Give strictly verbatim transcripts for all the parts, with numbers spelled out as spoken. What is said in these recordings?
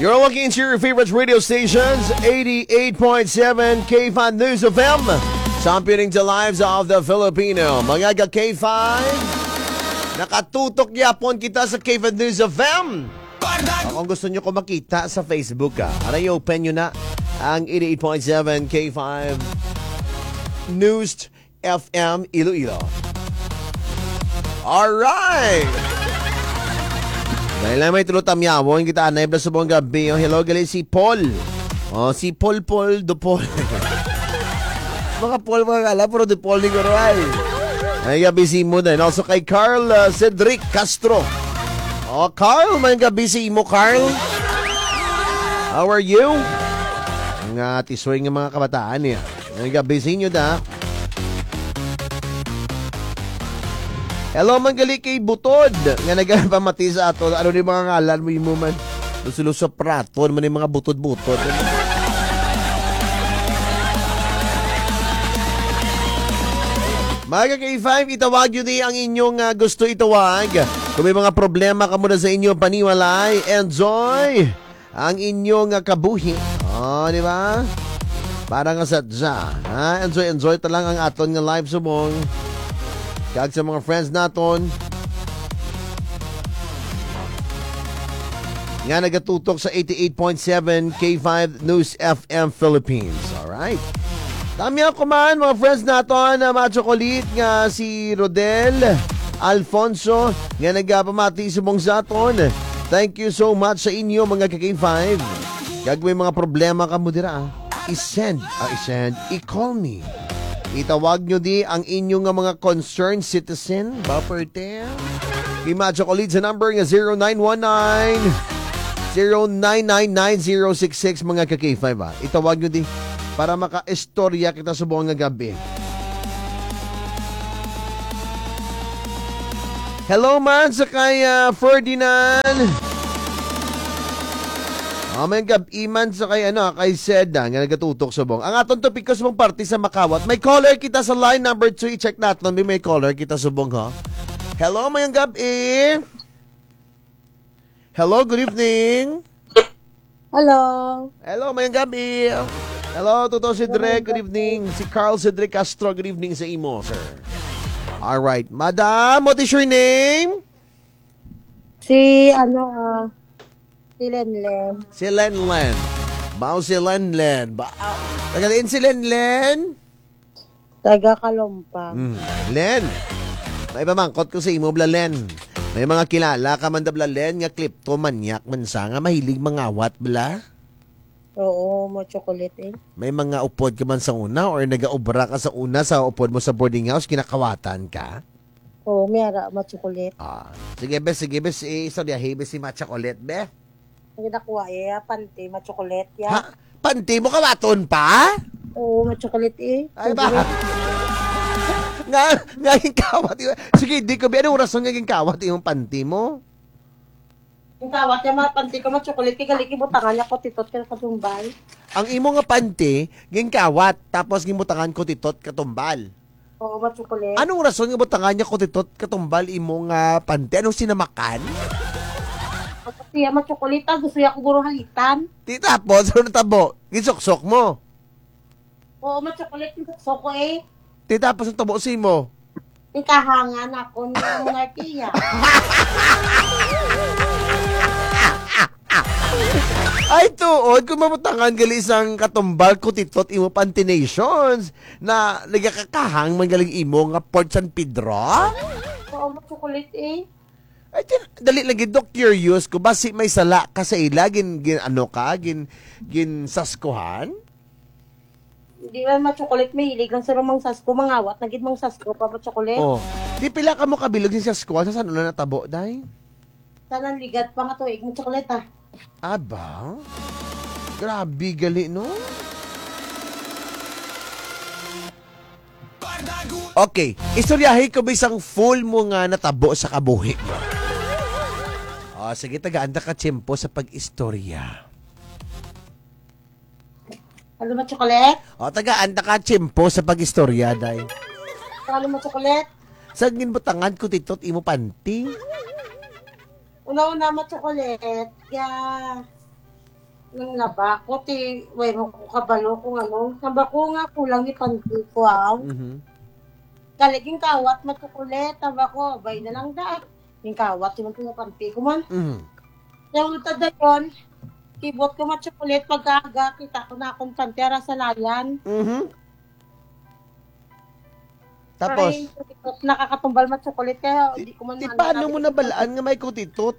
You're looking to your favorite radio stations, eighty-eight point seven K five News F M, championing the lives of the Filipino. Mga ka K five, nakatutok gihapon kita sa K five News F M. O kung gusto nyo ko makita sa Facebook, ah, ara, i-open nyo na ang eighty-eight point seven K five News F M Iloilo. Alright! Dahil na may tulo tamyawon kita anay bala subong gab-i. O, hello, gali si Paul. O, si Paul, Paul, De Paul. Mga Paul, mga kala, puro De Paul ni Kuray. Ay, gab-i sa imo din. Also kay Carl, uh, Cedric Castro. O, Carl, may gab-i sa imo, Carl. How are you? Nga tisoy nga mga kabataan niya. May gab-i sa inyo da. Hello, man gali kay Butod nga nagapamati sa aton. Ano ni mga ngalan mo, imo man? Lusulo sa praton man ni mga butod-butod. Mga ka K five, itawag nyo di ang inyong, ah, gusto itawag. Kung may mga problema kamo na sa inyong panimalay, enjoy ang inyong, ah, kabuhi. O, di ba? Para nga sadya, ha? Enjoy, enjoy ta lang ang aton nga live subong. Kag sa mga friends naton nga nagatutok sa eighty-eight point seven K five News F M Philippines. Alright. Tamyaw ko man, mga friends naton, ah, mga tsokolit nga si Rodel Alfonso, nga nagapamati subong sa aton. Thank you so much sa inyo, mga ka K five. Kag may mga problema kamo dira, ah, i-send, ah, i-send, i-call me. Itawag nyo di ang inyo nga mga concerned citizen, ba, perte? Kay Macho Khalid sa number nga zero nine one nine, zero nine nine nine zero six six, mga ka K five, ah. Itawag nyo di para makaistorya kita subong nga gab-i. Hello man sa kay, ah, Ferdinand. Ah, may gab-i man sa kay, ano, kay Seda nga nagatutok subong. Ang aton topiko subong parte sa makawat. May caller kita sa line number two. I-check naton. May, may caller kita subong, ha? Hello, mayong gab-i. Hello, good evening. Hello. Hello, mayong gab-i. Hello, Toto Cedric, good evening. Si Carl Cedric Castro, good evening sa imo, sir. Alright. Madam, what is your name? Si, ano, ah, si Lenlen. Si Lenlen. Mao si Lenlen. Ba, ah, taga diin si Lenlen? Taga Kalompang. Hmm. Len, may pamangkot ko sa imo bala, Len. May mga kilala ka man da bala, Len, nga kleptomaniac man sa nga mahilig mangawat bala? Oo, Macho Khalid, eh. May mga upod ka man sa una or nagaobra ka sa una sa upod mo sa boarding house, ginakawatan ka? Oo, may ara, Macho Khalid. Ah, sige, be, sige, be, si, istoryahi, be, si Macho Khalid, be. Ang ginakuha, eh, panty, Macho Khalid, ya. Ha? Panty mo kawaton pa? Oo, Macho Khalid, eh. Ay, ba? Nga, nga ginkawat, eh. Sige, di ko, be, anong rason nga ginkawat imong panty mo? Ginkawat ya, ma-, panty ko, Macho Khalid, kay gali gibutangan ya kutitot kay katumbal. Ang imo nga panty, ginkawat, tapos gibutangan kutitot katumbal. Oo, Macho Khalid. Anong rason nga butangan ya kutitot katumbal imo nga panty? Anong sinamakan? Kasi ya, Macho Khalid, ah, gusto ya ko guro halitan. Ti tapos, ano natabo? Ginsuksok mo? Oo, Macho Khalid, ginsuksok ko, eh. Ti tapos, ang tabo sa imo? Ikahangan ako ni Monarkia. Ay, tuod, kung mabutangan gali sang katumbal kutitot imo panty nations, na nagakakahang man galing imo nga Port San Pedro? Oo, Macho Khalid, eh. Ay, tin-, dali lang gid, Dok, curious ko, basi may sala ka sa ila, gin, gin, ano ka, gin, ginsaskuhan? Di man, Macho Khalid, mahilig lang sila mangsasko, mangawat na gid mangsasko pa, Macho Khalid. Oh. Ti pila kamo kabilog ginsaskuhan, sa san-o na natabo, day? Sa nanligat pa nga tuig, Macho Khalid, ah. Aba? Grabe gali, no? Okay, istoryahi ko bisang full mo nga natabo sa kabuhi mo. O, sige, tagaan ta ka tiyempo sa pag-istorya. Ano, Macho Khalid? O, tagaan ta ka tiyempo sa pag-istorya, day. Ano, Macho Khalid? San ginbutangan kutitot imo panty? Una-una, Macho Khalid, ya, Nanglaba ko, ti, wara man ko kabalo kung ano. Samba ko nga kulang ni panty ko, ah. Mhm. Gali ginkawat, ma-chocolate, samba ko, abay na lang da. Ginkawat, ti man ko panty ko man. Mhm. Kaya ulta dayon, kibot ko, ma-chocolate, pagkaaga, kita ko na akon panty, ara salayan. Mhm. Tapos? Ay, nakakatumbal, ma-chocolate, kaya Ti, di ko man ti maano paano na mo nabalaan nga may kutitot?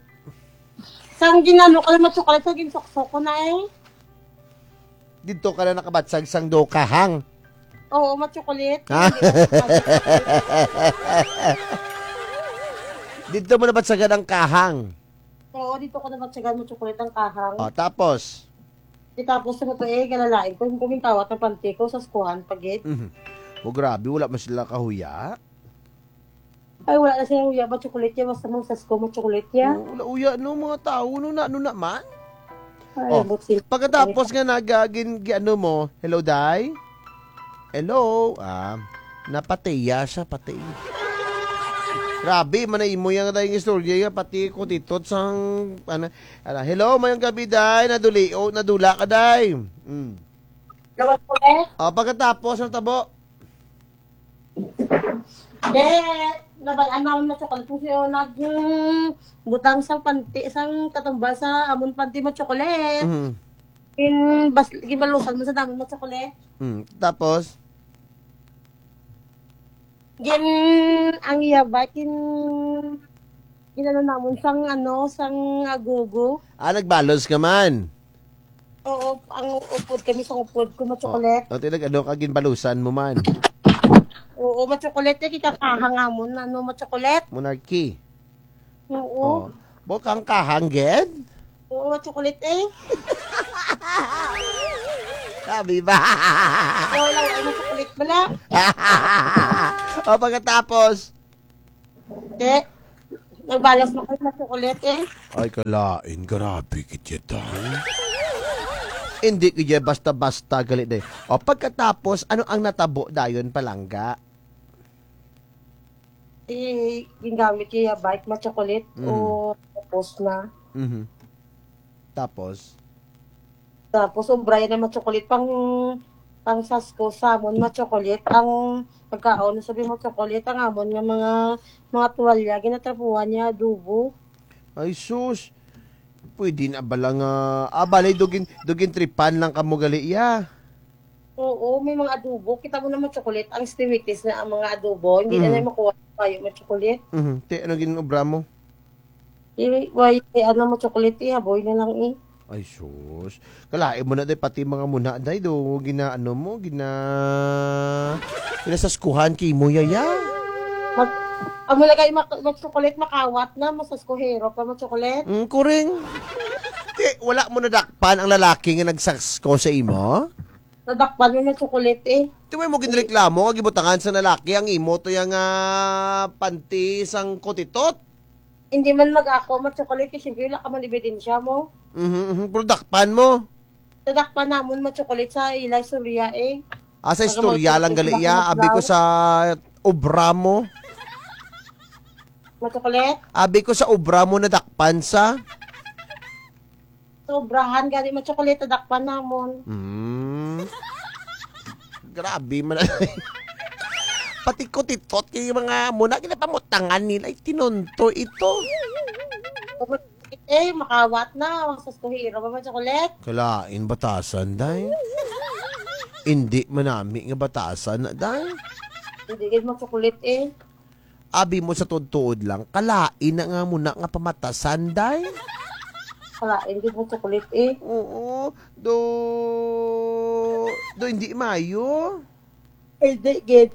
Sang ginano ko lang, ma-chocolate, sang ginsuksok ko na eh. Didto ka na nakabatsag sang duha kahang? Oo, ma-chocolate. Ha? Hindi ko maano. Didto mo nabatsagan ang kahang? Oo, didto ko nabatsagan, ma-chocolate, ang kahang. O, tapos? Di tapos, ano to eh, galalain ko, kung ginkawat ang panty ko, saskuhan pa gid. Mhm. O, grabe, wala man sila kahuya. Ay, wala na sila huya, ma-chocolate ya, basta magsasko, ma-chocolate ya. O, wala huya, no, mga tao, no, na, no naman? Ay, O, ambot sila. Pagkatapos nga naga-, gin-, gi-, ano mo, hello, day? Hello? Ah, napatay ya siya, patay. Grabe man na imo yang, day, nga istorya ya, pati kutitot sang, ano, ala, hello, mayong gabi, day. Naduli, o, nadula ka, day. Mm. Nawat ko, eh. O, pagkatapos, natabo? Di, nabal-an namon, ma-chocolate, kung sino nag-, mm, butang sang panty, sang katumbal sa amon panty, ma-chocolate. Mhm. Gin-, bas-, ginbalusan man sa namon, ma-chocolate. Mm, tapos? Gin-, ang iya ba, gin-, gin-ano namon sang, ano, sang agogo. Ah, nagbalos ka man? Oo, ang upod kami sang upod ko, ma-chocolate. O, ti nag-ano ka, ginbalusan mo man? Oo, ma-chocolate, eh, kikakahang amon, ano, ma-chocolate. Monarchy. Oo. O. Bukang kahang gid? Oo, ma-chocolate eh. Sabi ba? Oo, lang, ay, ma-chocolate bala. O, pagkatapos? Di, nagbalas man ko, ma-chocolate eh. Ay, kalain, grabe gid ya, day. Indi gid ya basta-basta gali, day. O, pagkatapos, ano ang natabo dayon, palangga? Ti, gingamit ko ya bike, ma-chocolate, Mm. o, tapos na. Mhm. Tapos? Tapos, obra ya na, ma-chocolate, pang, pangsasko sa amon, ma-chocolate, ang pagkaon, sabi, ma-chocolate, ang amon nga mga, mga tuwalya, ginatrapuhan ya, adobo. Ay, sus. Pwede na bala nga, ah, bali, daw gin-, daw gintripan lang kamo gali ya. Oo, may mga adobo. Kita mo naman, chocolate, ang stimikis na ang mga adobo. Hindi na Mhm. na makuha tayo, ma-chocolate. Mhm. Ti, ano gin-obra mo? Di, way, ano, ma-chocolate, eh, aboy na lang, eh. Ay, sus. Kalain mo na, day, pati mga muna, day, do, gina-, ano mo, gina-, ginasaskuhan kay mo, yaya. Mag-, amo na kay mak-, ma-chocolate, makawat na, masaskuhero pa, ma-chocolate. Mm, kuring. Ti, wala mo nadakpan ang lalaki nga nagsasko sa imo? Nadakpan mo, ma-chocolate, eh. Ti, way mo ginreklamo nga gibutangan sa lalaki ang imo to yang, ah, panty sang kutitot? Hindi man mag-ako, ma-chocolate, kay siyempre wala ka man ebidensya mo. Mhm, mhm. Pero dakpan mo? Nadakpan namon, ma-chocolate, sa ila istorya, eh. Ah, sa istorya lang gali ya, abi ko sa obra mo. Ma-chocolate? Abi ko sa obra mo nadakpan sa? Sobrahan gani, ma-chocolate, dakpan namon. Hmm. Grabe man. Pati kutitot kay mga muna, ginapamutangan nila, ay, tinunto ito. Eh, makawat na, masaskuhero pa, ma-chocolate. Kalain batasan, day. Hindi manami nga batasan na, day. Hindi gid, ma-chocolate, eh. Abi mo sa tuod-tuod lang, kalain na nga muna nga pamatasan, day. Kalain gid mo chocolate, eh. Oo, do, do hindi maayo. Ay, di gid.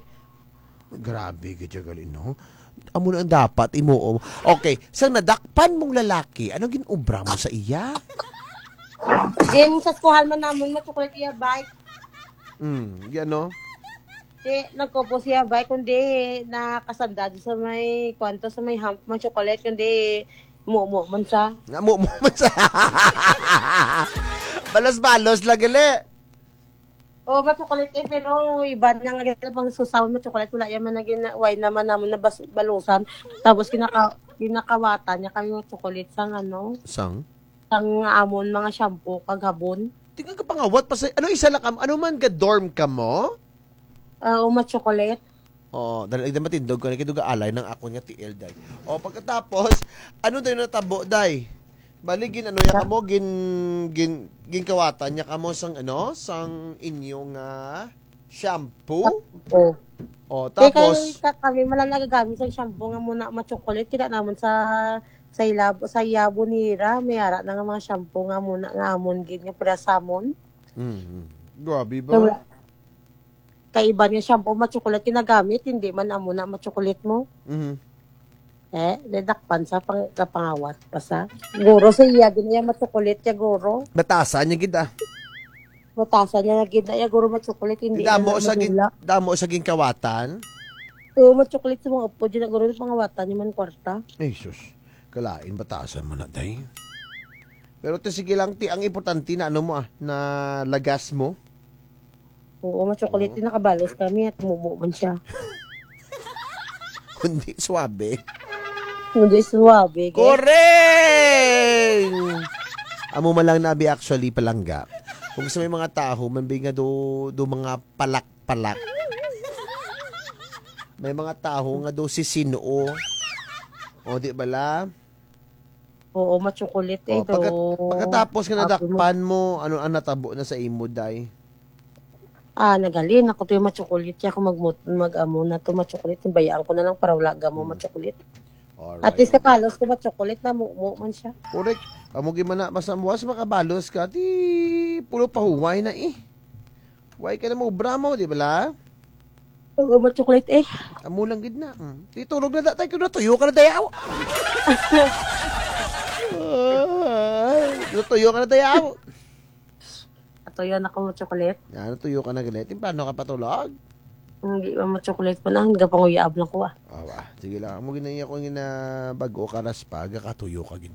Grabe gid ya gali, no? Amo na ang dapat imo. Okay, sa nadakpan mong lalaki, ano gin-obra mo sa iya? Ginsaskuhan man namon, ma-chocolate, iya bike. Hmm, yan, no? Ti, nagkupos iya bike, kundi nakasandad sa may, kwanto, sa may hump, ma-chocolate, kundi mumu man sa. Nga mumu man sa. Balos-balos lang gali. O, ma-chocolate, eh, pero iba na nga gali pang susaw, ma-chocolate, wala yan man na gina-, way naman namon na bas-, balusan. Tapos ginaka-, ginakawatan niya kami, ma-chocolate, sang ano. Sang? Ang amon mga shampoo kag habon. Ti nga kapangawat pa sa, ano, isa lang kam-, ano man, ga-dorm kamo? Ah, o, ma-chocolate. Oo, dali, dali matindog ko, nakiduga alay ng akon nga tiil, day. O, pagkatapos, ano dayon natabo, day? Bali, gin-, ano niya kamo, gin-, gin-, ginkawatan niya kamo sang, ano, sang inyo nga shampoo? Oo. O, tapos? Kay ka-, kami man lang nagagamit sang shampoo nga amo na ma-chocolate, kita namon sa, sa ilab-, sa yabo nira, may ara na nga mga shampoo nga amo na, nga amon gid, nga pira sa amon. Mhm. Grabe ba? Kay wala. Kay iba nga shampoo, ma-chocolate ginagamit, hindi man amo na ma-chocolate mo. Mhm. Eh, nadakpan sa pang-, kapangawat pa sa. Guro sa iya, gid iya ma-chocolate iya, guro. Batasan niya gid, ah. Batasan niya gid na iya, guro ma-chocolate, hindi iya madula. Damo sa gin-, damo sa ginkawatan? Oo, ma-chocolate sa mga apo, di na guro pangawatan niya man kwarta. Ay, sus. Kalain, batasan mo na, day. Pero ti, sige lang, ti, ang importante na ano mo, ah, na lagas mo. Oo, ma-chocolate, nakabalos kami at tumubo man siya. Kundi suwabe. Kundi suwabe, ge. Koreng! Amo man lang na abi actually palangga. Kung sa may mga tawo, man bi nga do, do mga palak-palak. May mga tawo nga do sisinuo. O, di bala? Oo, ma-chocolate, eh, o, pagka-, do. Pagkatapos nga nadakpan mo, ano ang natabo na sa imo, day? Ah, naghalin ako to iya ma-chocolate, ako magmut-, mag-amo na to ma-chocolate, bayaan ko na lang para wala gamo ma-chocolate. Alright. At least kabalos ko ma-chocolate na, mumo man siya. Correct. Amo gid man na, basta buwas makabalos ka, ti pulo pa huway na, eh. Huway ka na maobra mo, di bala? Oo, ma-chocolate, eh. Amo lang gid na. Mm. Ti tulog na da, tay, kay natuyo ka na dayaw. Ah, natuyo ka na dayaw. Natuyo na ko ma-chocolate. Ah, natuyo ka na gali. Ti paano ka patulog? Hindi pa ma-chocolate pa na, gapanguyab lang ko, ah. Awa, sige lang. Amo gid na iya ko nga bag-o ka raspa, gakatuyo ka gid.